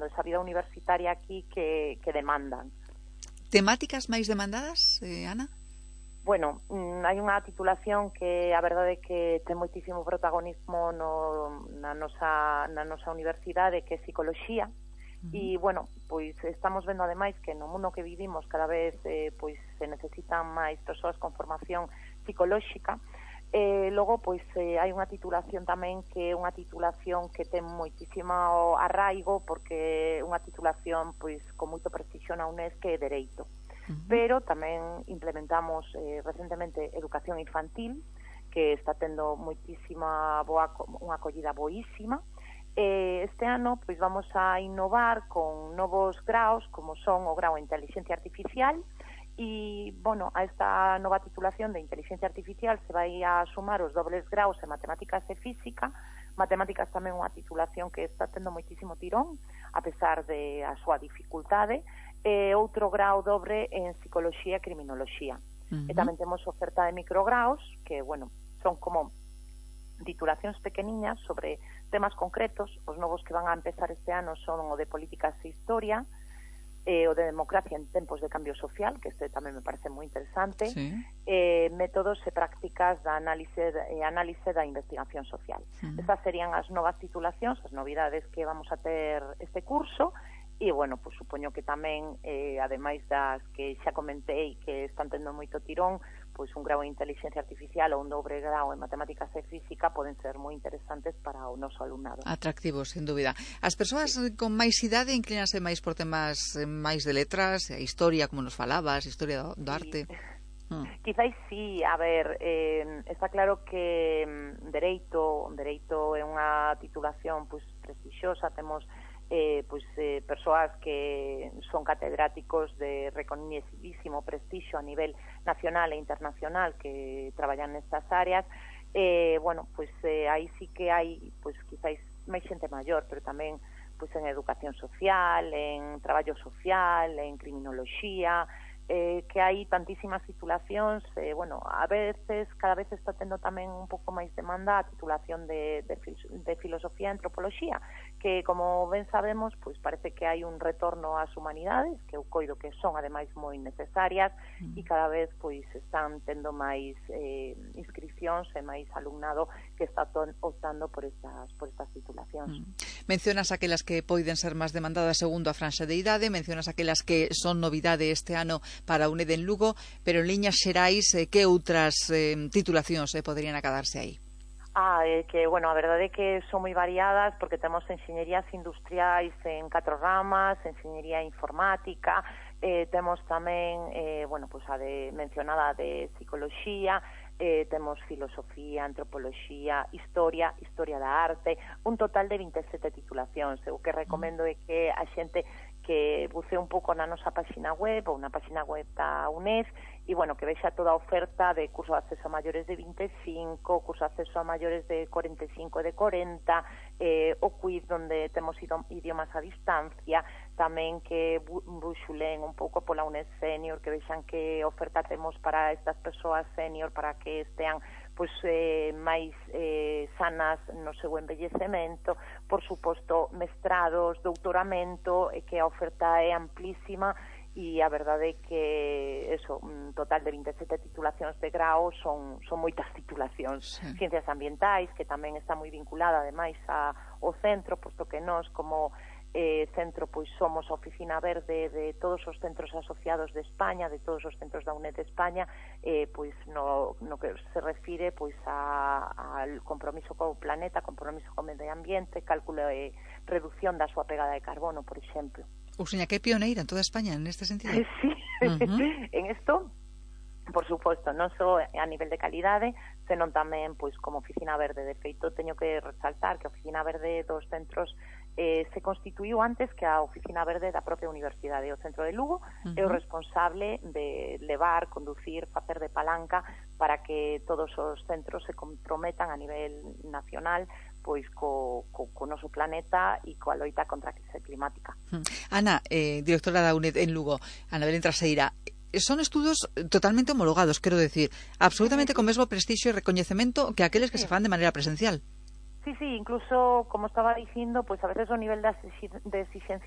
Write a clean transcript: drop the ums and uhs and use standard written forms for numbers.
demandando, esa vida universitaria aquí que demandan. Temáticas máis demandadas, Ana? Bueno, hai unha titulación que a verdade é que ten moitísimo protagonismo na nosa universidade, que é psicoloxía. E, bueno, pois estamos vendo ademais que no mundo que vivimos cada vez pois se necesitan máis persoas con formación psicolóxica. Logo, pois hai unha titulación tamén que é unha titulación que ten moitísimo arraigo, porque é unha titulación pois con moito prestigio na UNED, que é Dereito. Pero tamén implementamos recentemente Educación Infantil, que está tendo moitísima unha acollida boísima. Este ano pois vamos a innovar con novos graos, como son o grao en Inteligencia Artificial, e, bueno, a esta nova titulación de Inteligencia Artificial se vai a sumar os dobles graos en Matemáticas e Física. Matemáticas tamén unha titulación que está tendo moitísimo tirón, a pesar de a súa dificultade, e outro grao dobre en Psicoloxía e Criminoloxía. E tamén temos oferta de micrograos, que, bueno, son como titulacións pequeniñas sobre temas concretos. Os novos que van a empezar este ano son o de Políticas e Historia, o de Democracia en tempos de cambio social, que este tamén me parece moi interesante, métodos e prácticas da análise da investigación social. Estas serían as novas titulacións, as novidades que vamos a ter este curso. E, bueno, pues supoño que tamén, ademais das que xa comentei que están tendo moito tirón, pois un grao en Inteligencia Artificial ou un dobre grao en Matemáticas e Física poden ser moi interesantes para o noso alumnado. Atractivos, sin dúbida. As persoas con máis idade inclínanse máis por temas máis de letras, a historia, como nos falabas, historia do arte. Quizáis sí, a ver, está claro que Dereito é unha titulación pois prestixiosa. Temos persoas que son catedráticos de recoñecidísimo prestixio a nivel nacional e internacional que traballan nestas áreas. Bueno, pois aí sí que hai, pois quizáis máis xente maior, pero tamén pois en educación social, en traballo social, en criminoloxía, que hai tantísimas titulacións. Bueno, a veces, cada vez está tendo tamén un pouco máis demanda a titulación de filosofía e antropoloxía, que, como ben sabemos, pois parece que hai un retorno ás humanidades, que eu coido que son ademais moi necesarias, e cada vez pois están tendo máis inscripcións e máis alumnado que está optando por estas titulacións. Mencionas aquelas que poden ser máis demandadas segundo a franxa de idade, mencionas aquelas que son novidade este ano para a UNED en Lugo, pero en liñas xerais, que outras titulacións poderían acadarse aí? Que, bueno, a verdade é que son moi variadas, porque temos enxeñerías industriais en 4 ramas, enxeñería informática, temos tamén, bueno, pues a mencionada de psicoloxía, temos filosofía, antropoloxía, historia da arte, un total de 27 titulacións. O que recomendo é que a xente que bucee un pouco na nosa páxina web ou na páxina web da UNED, e, bueno, que vexa toda a oferta de curso de acceso a maiores de 25, curso de acceso a maiores de 45 e de 40, o quiz onde temos idiomas a distancia, tamén que buxulen un pouco pola UNED Senior, que vexan que oferta temos para estas persoas senior para que estean pois máis sanas no seu envellecemento. Por suposto, mestrados, doutoramento, que a oferta é amplísima, e a verdade é que eso, un total de 27 titulacións de grao son moitas titulacións. Ciencias ambientais, que tamén está moi vinculada ademais ao centro, posto que nós como centro pois somos a oficina verde de todos os centros asociados de España, de todos os centros da UNED de España, pois no que se refire pois al compromiso co planeta, compromiso co medio ambiente, cálculo e reducción da súa pegada de carbono, por exemplo. Useña, que é pioneira en toda España neste sentido. Sí, en isto, por suposto, non só a nivel de calidade, senón tamén pois como oficina verde. De feito, teño que resaltar que a oficina verde dos centros se constituiu antes que a oficina verde da propia universidade. O centro de Lugo é o responsable de levar, conducir, facer de palanca para que todos os centros se comprometan a nivel nacional pois co noso planeta e coa loita contra a crise climática. Ana, directora da UNED en Lugo, Ana Belén Traseira, son estudos totalmente homologados, quero decir, absolutamente con mesmo prestixio e recoñecemento que aqueles que se fan de maneira presencial. Sí, incluso, como estaba dicindo, pues a veces o nivel de exigencia